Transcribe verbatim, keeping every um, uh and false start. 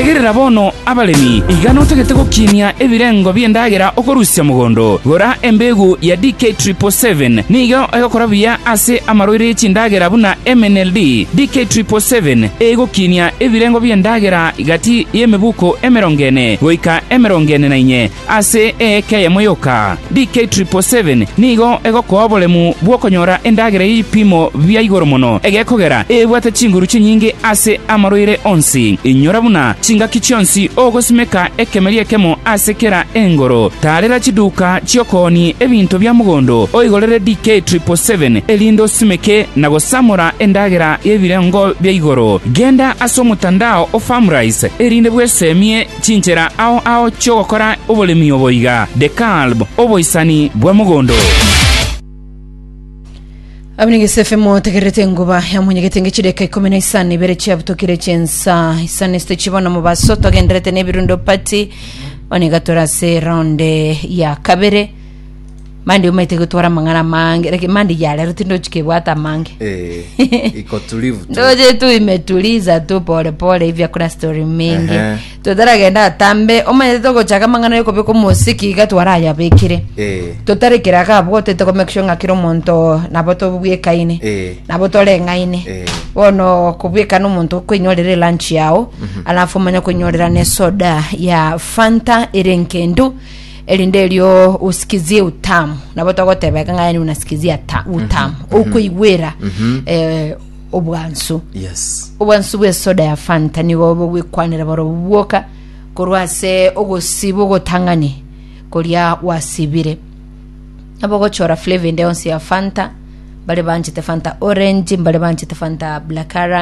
Tegerera bono abaremi, iga notagete gokinia ebirengo bi'endagera okorusia mogondo. Gora embegu ya D K triple seven, nigo egokora buya ase amarwaire y'echindagera buna M N L D. D K triple seven egokinia ebirengo bi'endagera gati y'emebuko emerongo ene goika emerongo ene na inye ase eeka eyemo yoka. D K triple seven nigo egokoa oboremu bw'okonyora endagera y'ebipimo bia igoro mono, egekogera ebwate chinguru chinyinge ase amarwaire onsi. Inyora buna chingaki chionsi ogosimeka ekemeri ekemo ase kera engoro. Tarera chiduka chiokooni ebinto bia mogondo, oigorere D K triple seven erinde osimeke na gosamora endagera y'ebirengo bia igoro. Genda ase omotandao o Farmrice erinde bwesemie chinchera ao ao chiogokora oboremi oboiga. DeKalb, oboisani bwa mogondo. Abinigese F M, tegerete enguba yamunyegete ngechideka ikumi na isano ibere chiabutokire chensa isano esite chibona mubaso. Togenderete n'ebirundo party oniga torase round ya kabere. Mandi umaite gutwara mang'ana mange, lakini mandi ya lero tindochikebwata mange. Eh, iko tulivu tu. Ndoje tu imetuliza tu pole pole hivi, hakuna story mingi. Ehe. Tutaragenda atambe, omanyete togochaka mang'ana yokobeka omosiki iga twarayabekire. Eh, Tutarekera kabwo tete ko make sure ng'a kira omonto nabo tobwekaine, Eh. nabo toreng'aine. Eh. Bono kobwekana omonto okoinyorera lunch yao, alafu omanye koinyorera ne soda ya Fanta ere nkendu, erinde erio usikizie utamu. Nabo togotebeka ng'a yani unasikizia ta utamu okoigwera eh, obwansu. Yes. Obwansu bwa esoda ya Fanta nigo bogwekwanera boro bwoka korwa ase ogosiba ogotang'ani koria wasibire. Nabo gochora flavor ende yonsi ya Fanta, mbare banchete Fanta orange, mbare banchete Fanta blackcurrant.